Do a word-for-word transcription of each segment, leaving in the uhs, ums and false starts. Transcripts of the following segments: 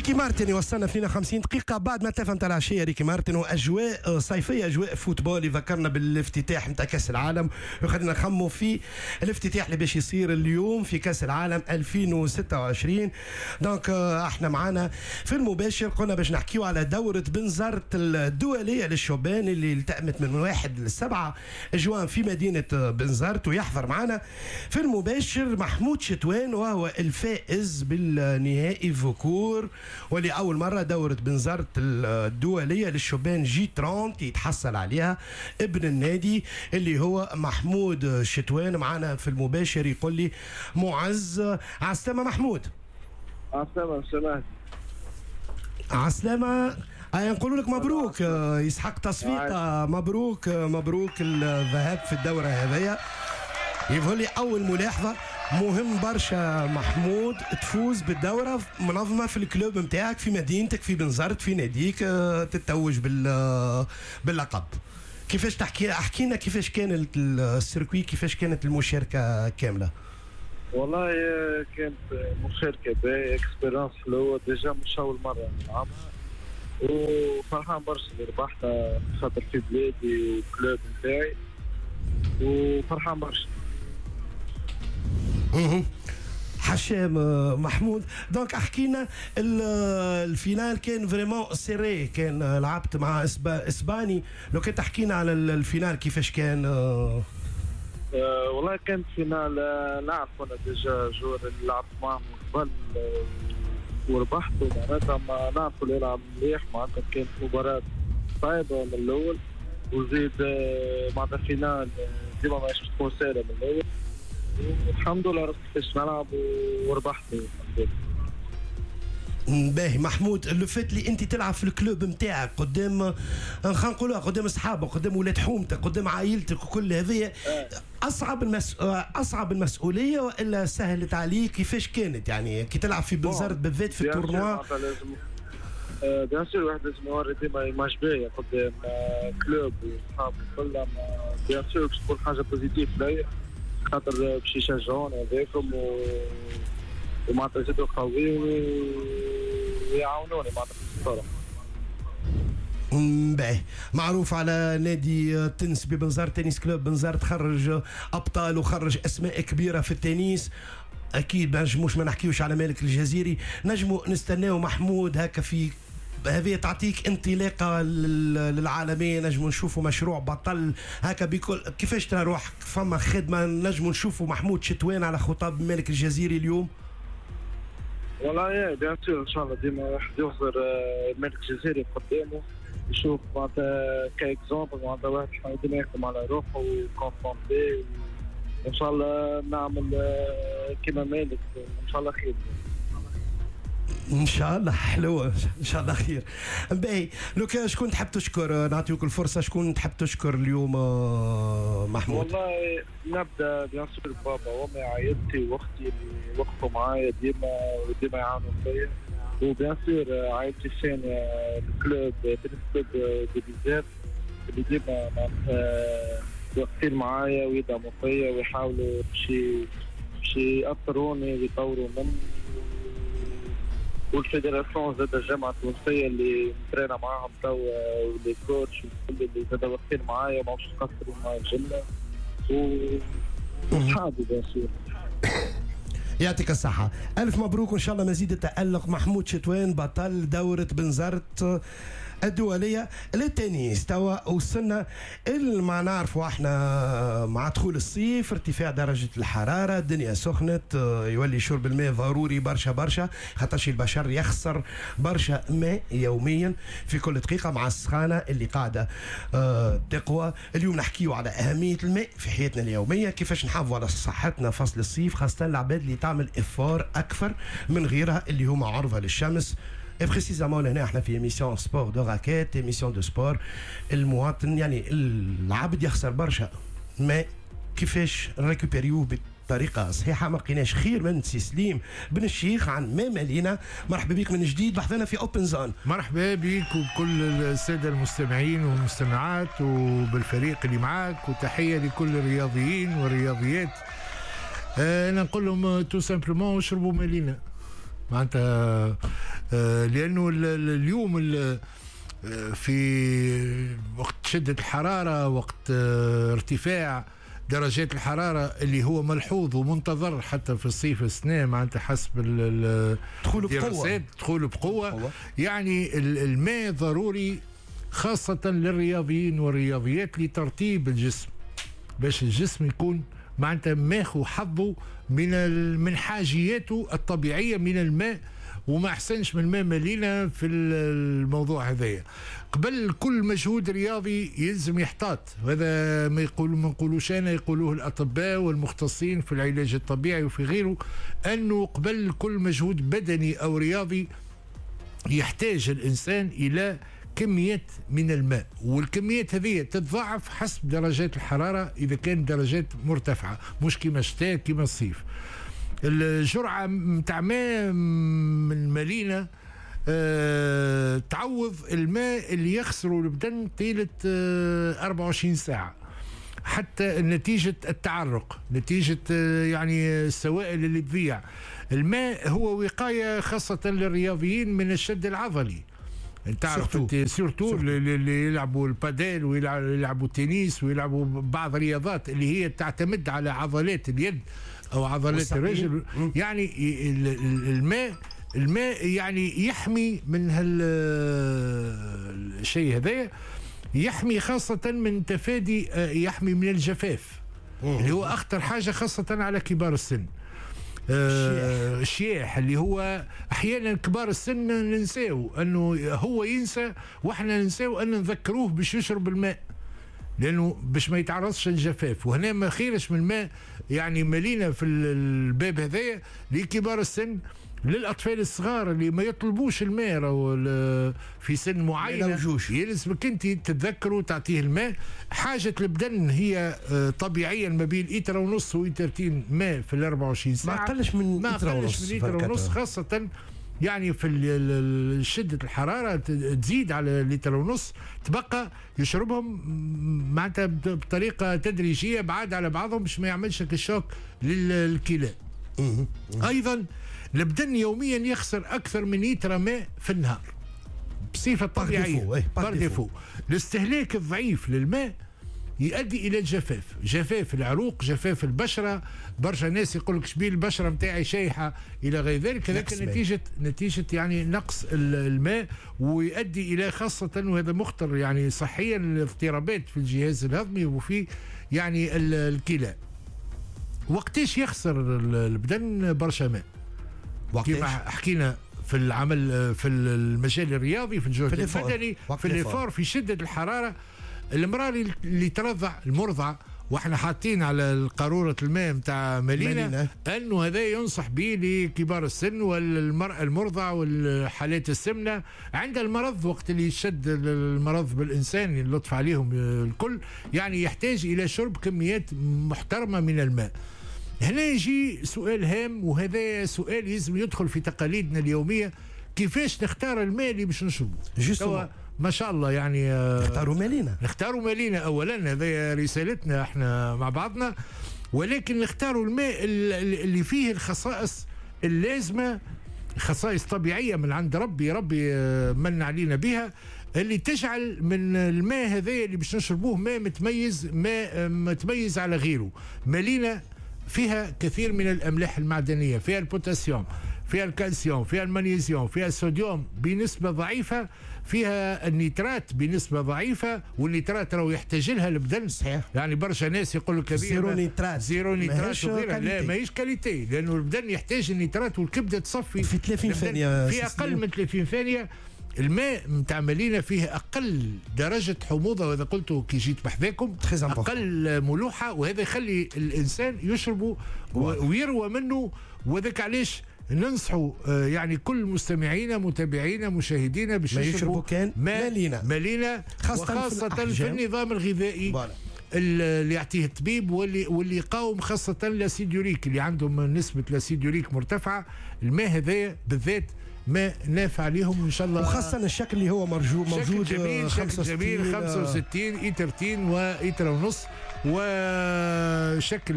ريكي مارتن يوصلنا اثنين وخمسين دقيقة بعد ما ثلاثة نتاع العشية. ريكي مارتن وأجواء صيفية، أجواء football، يذكرنا بالافتتاح نتاع كأس العالم وخلينا نخمو في الافتتاح اللي باش يصير اليوم في كأس العالم ألفين وستة وعشرين. donc احنا معانا في المباشر قلنا باش نحكيو على دورة بنزرت الدولية للشبان اللي التأمت من واحد لسبعة جوان في مدينة بنزرت، ويحضر معانا في المباشر محمود شتوان وهو الفائز بالنهائي فوكور، ولأول مرة دورة بنزرت الدولية للشبان J ثلاثين يتحصل عليها ابن النادي اللي هو محمود شتوان. معنا في المباشر يقول لي معز، عسلامة محمود. عسلامة سمعت. عسلامة، نقول لك مبروك، يسحق تصفيقة، مبروك مبروك الذهاب في الدورة هذيا. يظهر لي أول ملاحظة مهم برشا محمود، تفوز بالدورة منظمة في ال club نتاعك في مدينتك في بنزرت في ناديك، تتوج بال باللقب. كيفاش تحكي، احكي لنا كيفاش كان ال circuit، كيفاش كانت المشاركة كاملة؟ والله كانت مشاركة باهية، expérience حلوة، déjà مش أول مرة نلعبها وفرحان برشا اللي ربحتها خاطر في بلادي و club نتاعي وفرحان برشا. حشام محمود، donc احكي لنا ال finale كان vraiment serré، كان لعبت مع اسباني، لو كان تحكي لنا على ال finale كيفاش كان؟ أه والله كانت finale نعرف انا déjà joueur اللي لعبت معهم قبل وربحته، معناتها ما نعرفوا اللي يلعب مليح، معناتها كانت مباراة صعيبة من الأول، وزيد معناتها finale ديما ماهيش تكون سهلة من الأول، والحمد لله عرفت كيفاش نلعب وربحت الحمد لله. باهي محمود، le fait اللي انت تلعب في ال club نتاعك قدام، خلينا نقولوها قدام اصحابك، قدام ولاد حومتك، قدام عائلتك وكل هذه، اصعب المس... اصعب المسؤولية والا سهلت عليك؟ كيفاش كانت يعني كي تلعب في بنزرت بالذات في ال tournoi؟ bien sûr واحد لازم يوري ديما image باهيه قدام club وصحابه وكل، bien sûr باش تكون حاجة positive ليا خاطر باش يشجعوني هذاكم و ومعناتها يزيدوا قوي ويعاونوني معناتها في الصورة. باهي، معروف على نادي تنس ببنزرت، tennis club بنزرت خرج ابطال وخرج اسماء كبيرة في التنس، اكيد ما نجموش ما نحكيوش على مالك الجزيري، نجمو نستناو محمود هكا في هذه تعطيك انطلاقة للعالمية، نجمو نشوفوا مشروع بطل هكا بكل. كيفاش ترى روحك؟ فما خدمة نجمو نشوفوا محمود شتوان على خطاب مالك الجزيري اليوم؟ والله يا bien sûr ان شاء الله ديما واحد يخزر مالك الجزيري قدامه يشوف معناتها ك exemple، معناتها واحد ديما يخدم على روحه و concentré، وان شاء الله نعمل كيما مالك ان شاء الله خير. ان شاء الله حلوة، ان شاء الله خير. باهي، لو كان شكون تحب تشكر، نعطيوك الفرصة، شكون تحب تشكر اليوم محمود؟ والله نبدا bien sûr بابا وامي عائلتي واختي اللي وقفوا معايا ديما وديما يعاونوا فيا، و bien sûr عائلتي الثانية ال club tennis club de Bizerte اللي ديما معناتها واقفين معايا ويدعموا فيا ويحاولوا باش باش يأثروني ويطوروا مني، وال fédération زاد الجامعة التونسية اللي نترينا معاهم توا و les coachs والكل اللي زاد واقفين معايا وما باش يقصروا معايا الجملة، وصحابي bien sûr. يعطيك الصحة، ألف مبروك وإن شاء الله مزيد التألق محمود شتوان بطل دورة بنزرت الدولية للتنس. توا وصلنا ما نعرفوا احنا مع دخول الصيف ارتفاع درجة الحرارة، الدنيا سخنت، يولي شرب الماء ضروري برشا برشا، خاطرش البشر يخسر برشا ماء يوميا في كل دقيقة مع السخانة اللي قاعدة تقوى. اليوم نحكيو على أهمية الماء في حياتنا اليومية، كيفاش نحافظوا على صحتنا فصل الصيف، خاصة العباد اللي تعمل effort أكثر من غيرها اللي هما عرضة للشمس. Et précisément هنا احنا في émission sport de raquette، émission de sport، المواطن يعني العبد يخسر برشا ما كيفاش نريكوبيريوه بطريقة صحيحه. ما لقيناش خير من سي سليم بن الشيخ عن ما مالينا. مرحبا بك من جديد بحثنا في Open Zone. مرحبا بك وبكل السادة المستمعين والمستمعات وبالفريق اللي معاك، وتحية لكل الرياضيين والرياضيات. انا نقول لهم tout simplement اشربوا مالينا، معناتها آه لانه اليوم في وقت شده الحرارة، وقت ارتفاع درجات الحرارة اللي هو ملحوظ ومنتظر حتى في الصيف السنة، معناتها حسب دخوله بقوة، دخوله بقوة، يعني الماء ضروري خاصة للرياضيين والرياضيات لترطيب الجسم، باش الجسم يكون معناتها ماخو حظه من من حاجياته الطبيعية من الماء، وما احسنش من الماء ملينا في الموضوع هذايا. قبل كل مجهود رياضي يلزم يحتاط، وهذا ما يقولوا ما نقولوش انا، يقولوه الاطباء والمختصين في العلاج الطبيعي وفي غيره، انه قبل كل مجهود بدني او رياضي يحتاج الانسان الى كميات من الماء، والكميات هذه تتضاعف حسب درجات الحرارة اذا كانت درجات مرتفعة، مش كما الشتاء كما الصيف. الجرعة نتاع ماء من ملينه أه تعوض الماء اللي يخسره البدن طيلة أه أربعة وعشرين ساعة، حتى نتيجة التعرق، نتيجة أه يعني السوائل اللي تضيع. الماء هو وقاية خاصة للرياضيين من الشد العضلي. انت تعرف surtout اللي يلعبوا الباديل ويلعبوا التنس ويلعبوا بعض الرياضات اللي هي تعتمد على عضلات اليد او عضلات الرجل، يعني الماء الماء يعني يحمي من هالشيء هذايا، يحمي خاصة من تفادي، يحمي من الجفاف اللي هو اخطر حاجة خاصة على كبار السن. آه الشياح اللي هو احيانا كبار السن ننساو انه هو ينسى، واحنا ننساو ان نذكروه باش يشرب الماء، لانه باش ما يتعرضش للجفاف. وهنا ما خيرش من الماء يعني ملينا في الباب هذايا لكبار السن، للاطفال الصغار اللي ما يطلبوش الماء في سن معين، يلزمك انت تتذكروا تعطيه الماء. حاجة البدن هي طبيعيا ما بين لتر ونص وإترتين ماء في ال أربعة وعشرين ساعة، ما اقلش من لتر ونص، من لتر ونص خاصة يعني في شده الحرارة تزيد على لتر ونص، تبقى يشربهم معناتها بطريقة تدريجيه بعاد على بعضهم باش ما يعملش ال choc للكلى. ايضا البدن يوميا يخسر اكثر من لتر ماء في النهار بصفة طبيعية، par défaut. الاستهلاك الضعيف للماء يؤدي الى الجفاف، جفاف العروق، جفاف البشرة. برشا ناس يقول لك شبيه البشرة نتاعي شايحه الى غير ذلك، هذاك نتيجة نتيجة يعني نقص الماء، ويؤدي الى خاصة وهذا مخطر يعني صحيا الاضطرابات في الجهاز الهضمي وفي يعني الكلى. وقتاش يخسر البدن برشا ماء؟ كما حكينا في العمل في المجال الرياضي، في الجهد البدني، في l'effort، في شده الحرارة. المراة اللي ترضع، المرضع، واحنا حاطين على قارورة الماء نتاع ملينا انه هذا ينصح به لكبار السن والمراة المرضع والحالات السمنة عند المرض، وقت اللي يشد المرض بالانسان اللطف عليهم الكل، يعني يحتاج الى شرب كميات محترمه من الماء. هنا يجي سؤال هام، وهذا سؤال لازم يدخل في تقاليدنا اليومية، كيفاش نختار الماء اللي باش نشربه؟ ما شاء الله يعني نختاروا مالينا، نختاروا مالينا اولا، هذه رسالتنا احنا مع بعضنا، ولكن نختاروا الماء اللي فيه الخصائص اللازمة، خصائص طبيعية من عند ربي، ربي من علينا بها، اللي تجعل من الماء هذا اللي باش نشربوه ماء متميز، ماء متميز على غيره. مالينا فيها كثير من الاملاح المعدنية، فيها البوتاسيوم، فيها الكالسيوم، فيها المغنيسيوم، فيها الصوديوم بنسبة ضعيفة، فيها النيترات بنسبة ضعيفة، والنيترات راهو يحتاج لها البدن. صحيح. يعني برشا ناس يقول لك zéro nitrate، zéro nitrate وغيرها، لا ماهيش qualité، لانه البدن يحتاج النيترات والكبده تصفي في ثلاثين ثانية، في اقل من ثلاثين ثانية. الماء نتاع مالينا فيه اقل درجه حموضه، وهذا قلته كي جيت بحذاكم، اقل ملوحه، وهذا يخلي الانسان يشربه ويروى منه. وذاك علاش ننصحوا يعني كل مستمعينا متابعينا مشاهدينا باش يشربوا كان مالينا، مالينا خاصة, وخاصة في النظام الغذائي voilà. اللي يعطيه الطبيب، واللي واللي يقاوم خاصة l'acide urique اللي عندهم نسبه l'acide urique مرتفعة. الماء هذايا بالذات ما نافع عليهم ان شاء الله، وخاصة الشكل اللي هو مرجو موجود، شكل جميل، شكل جميل، خمسة وستين ايترتين وايتر ونص. وشكل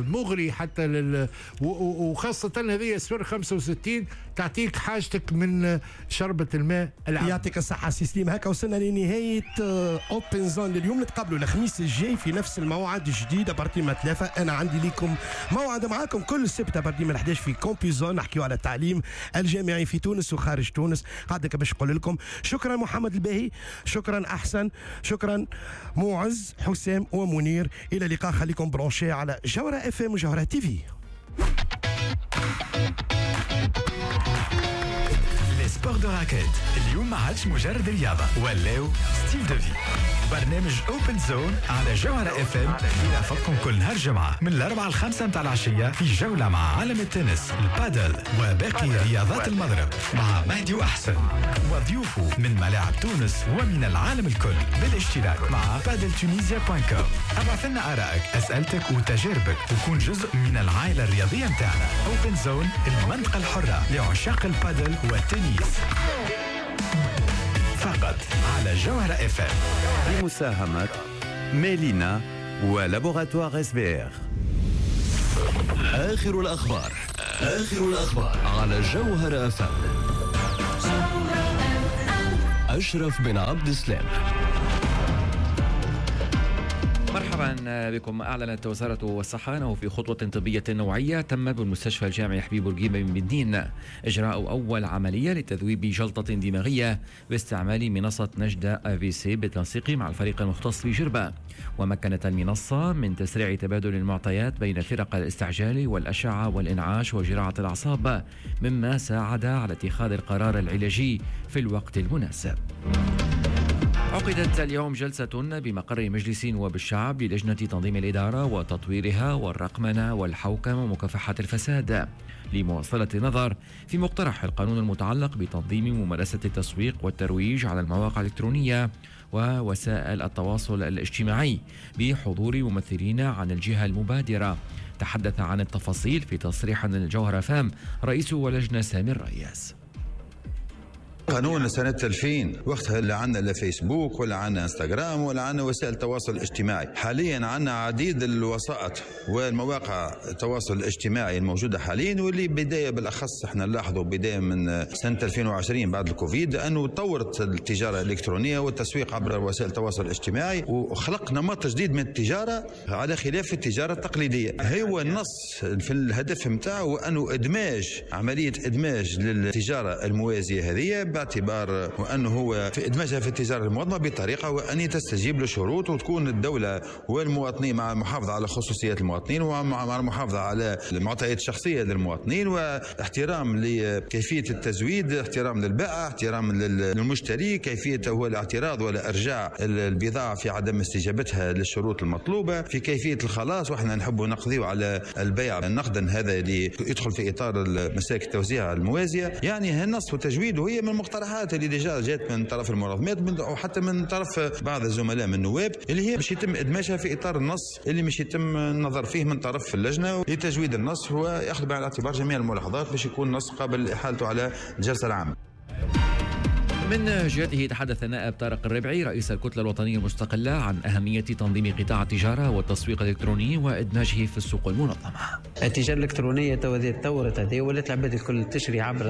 مغري حتى لل وخاصة هذه صفر خمسة وستين تعطيك حاجتك من شربة الماء العام. يعطيك الصحة سي سليم. هكا وصلنا لنهاية Open Zone لليوم، نتقابلوا الخميس الجاي في نفس الموعد الجديد à partir من ثلاثة. أنا عندي لكم موعد معاكم كل سبت à partir من أحد عشر في Campus Zone، نحكيو على التعليم الجامعي في تونس وخارج تونس. قعدك باش نقول لكم شكرا محمد الباهي، شكرا أحسن، شكرا معز، حسام ومنير. إلى اللقاء، خليكم branchés على جوهرة اف ام وجوهرة تي في. les sports de raquette اليوم ما عادش مجرد رياضة، ولاو style de vie. برنامج Open Zone على جوهرة اف ام يرافقكم كل نهار جمعة من الأربعة لخمسة متاع العشية في جولة مع عالم التنس، البادل وباقي رياضات المضرب مع مهدي وأحسن وضيوفه من ملاعب تونس ومن العالم الكل، بالاشتراك مع Padel Tunisia point com. ابعث لنا آرائك، أسئلتك وتجاربك، وكون جزء من العائلة الرياضية متاعنا. Open Zone، المنطقة الحرة لعشاق البادل والتنس، فقط على جوهرة اف ام. بمساهمة ميلينا و laboratoire SBR. آخر الأخبار، آخر الأخبار على جوهرة اف ام. أشرف بن عبد السلام. مرحبا بكم. أعلنت وزارة الصحة أنه في خطوة طبية نوعية تم بالمستشفى الجامعي حبيب بورقيبة من مدنين إجراء أول عملية لتذويب جلطة دماغية باستعمال منصة نجدة AVC بالتنسيق مع الفريق المختص بجربة. ومكنت المنصة من تسريع تبادل المعطيات بين فرق الاستعجال والأشعة والإنعاش وجراحة الأعصاب، مما ساعد على اتخاذ القرار العلاجي في الوقت المناسب. عقدت اليوم جلسة بمقر مجلس نواب الشعب للجنة تنظيم الإدارة وتطويرها والرقمنة والحوكمة ومكافحة الفساد لمواصلة النظر في مقترح القانون المتعلق بتنظيم ممارسة التسويق والترويج على المواقع الإلكترونية ووسائل التواصل الاجتماعي بحضور ممثلين عن الجهة المبادرة. تحدث عن التفاصيل في تصريح للجوهرة فام رئيس ولجنة سامي الرياس. قانون سنة ألفين وقتها لا عندنا لا فيسبوك ولا عندنا انستغرام ولا عندنا وسائل التواصل الاجتماعي. حاليا عندنا عديد الوسائط والمواقع التواصل الاجتماعي الموجودة حاليا، واللي بداية بالأخص احنا نلاحظوا بداية من سنة ألفين وعشرين بعد الكوفيد أنه طورت التجارة الإلكترونية والتسويق عبر وسائل التواصل الاجتماعي وخلق نمط جديد من التجارة على خلاف التجارة التقليدية. هو النص في الهدف متاعه أنه إدماج عملية إدماج للتجارة الموازية هذه باعتبار وأنه هو في إدماجها في التجارة المنظمة بطريقة وأن تستجيب لشروط وتكون الدولة والمواطنين مع المحافظة على خصوصيات المواطنين ومع المحافظة على المعطيات الشخصية للمواطنين واحترام لكيفية التزويد، احترام للبائع، احترام للمشتري، كيفية هو الاعتراض ولا إرجاع البضاعة في عدم استجابتها للشروط المطلوبة، في كيفية الخلاص، وإحنا نحب نقضي على البيع نقدا هذا اللي يدخل في إطار مسالك التوزيع الموازية. يعني هالنص وتجويده هي من المقترحات اللي déjà جات من طرف المنظمات او حتى من طرف بعض الزملاء من النواب اللي هي باش يتم ادماجها في اطار النص اللي مش يتم النظر فيه من طرف اللجنة لتجويد النص وياخذ بعين الاعتبار جميع الملاحظات باش يكون النص قابل لاحالته على الجلسة العامة. من جهته تحدث النائب طارق الربعي رئيس الكتلة الوطنية المستقلة عن أهمية تنظيم قطاع التجارة والتسويق الإلكتروني وإدماجه في السوق المنظمة. التجارة الإلكترونية تطورت هذه ولات العباد الكل تشري عبر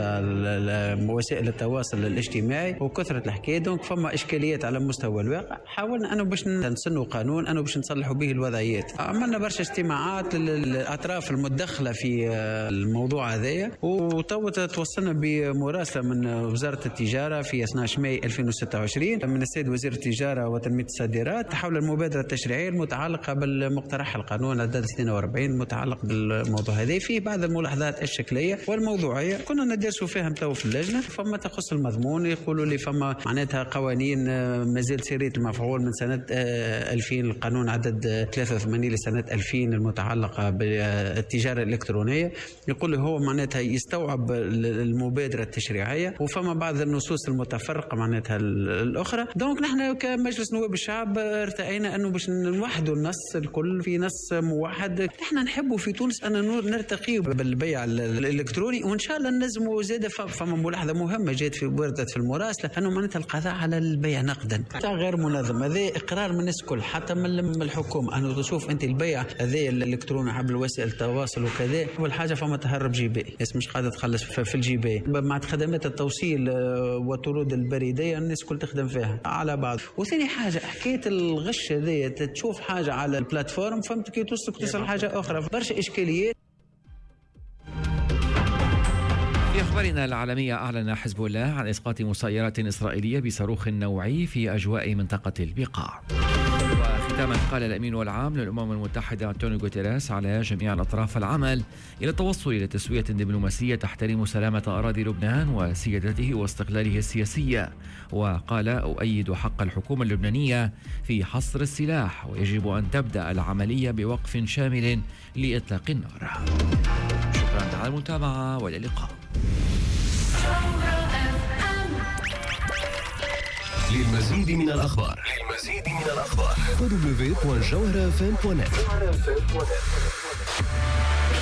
وسائل التواصل الاجتماعي وكثرة الحكاية، donc فما إشكاليات على مستوى الواقع. حاولنا أنه باش نسنوا قانون أنه باش نصلحوا به الوضعيات. عملنا برشا اجتماعات للأطراف المتدخلة في الموضوع هذايا، وتو توصلنا بمراسلة من وزارة التجارة في اثنا عشر ماي ألفين وستة وعشرين من السيد وزير التجارة وتنمية الصادرات حول المبادرة التشريعية المتعلقة بالمقترح القانون عدد اثنين وأربعين المتعلق بالموضوع هذا. فيه بعض الملاحظات الشكلية والموضوعية كنا ندرسوا فيها تو في اللجنة. فما تخص المضمون يقولوا لي فما معناتها قوانين مازال سرية المفعول من سنة ألفين، القانون عدد ثلاثة وثمانين لسنة ألفين المتعلقة بالتجارة الإلكترونية، يقول هو معناتها يستوعب المبادرة التشريعية. وفما بعض النصوص المتفرعة فرق معناتها الاخرى. donc نحن كمجلس نواب الشعب ارتأينا انه باش نوحدوا النص الكل في نص موحد. نحن نحبوا في تونس ان نرتقي بالبيع الالكتروني، وان شاء الله نجموا زاده. فما ملاحظة مهمة جات في وردت في المراسله انه معناتها القضاء على البيع نقدا غير منظم، هذا اقرار من الناس الكل حتى من الحكومة، انه تشوف انت البيع هذا الالكتروني عبر وسائل التواصل وكذا، اول حاجة فما تهرب جبائي، الناس مش قاعدة تخلص في الجبائي، مع خدمات التوصيل والطرود البريدية الناس الكل تخدم فيها على بعض. وثاني حاجة حكاية الغش هذه، تشوف حاجة على ال plateforme فهمت كي توصلك توصل حاجة اخرى، برشا اشكاليات. في أخبارنا العالمية، أعلن حزب الله عن إسقاط مسيرات إسرائيلية بصاروخ نوعي في أجواء منطقة البقاع. وختاما، قال الأمين العام للأمم المتحدة أنطونيو غوتيريس على جميع الأطراف العمل إلى التوصل إلى تسوية دبلوماسية تحترم سلامة أراضي لبنان وسيادته واستقلاله السياسية. وقال أؤيد حق الحكومة اللبنانية في حصر السلاح، ويجب أن تبدأ العملية بوقف شامل لإطلاق النار. شكرا على المتابعة والى اللقاء. للمزيد من الأخبار للمزيد من الأخبار دبليو دبليو دبليو دوت جوهرة إف إم دوت نت.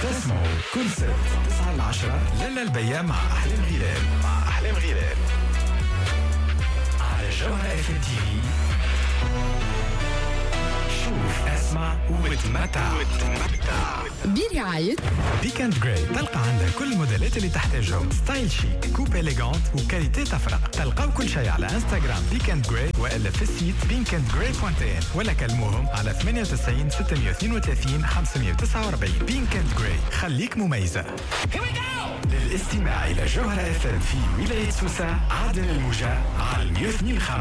تسمعوا كل سبت تسعة لعشرة للا البياع مع أحلام غلال مع أحلام غلال على جوهرة إف إم تي في. شوف، اسمع وتمتع برعاية Pick and Grey. تلقى عندها كل الموديلات اللي تحتاجهم، style chic، coupe élégante و qualité تفرق. تلقاو كل شيء على انستغرام Pick and Grey والا في ال site Pink and Grey point in، ولا كلموهم على ثمانية وتسعين ستمية واثنين وثلاثين خمسمية وتسعة وأربعين. Pink and Grey، خليك مميزة. للاستماع إلى جوهرة إف إم في ولاية سوسة، عدن الموجة على مية واثنين خمسة.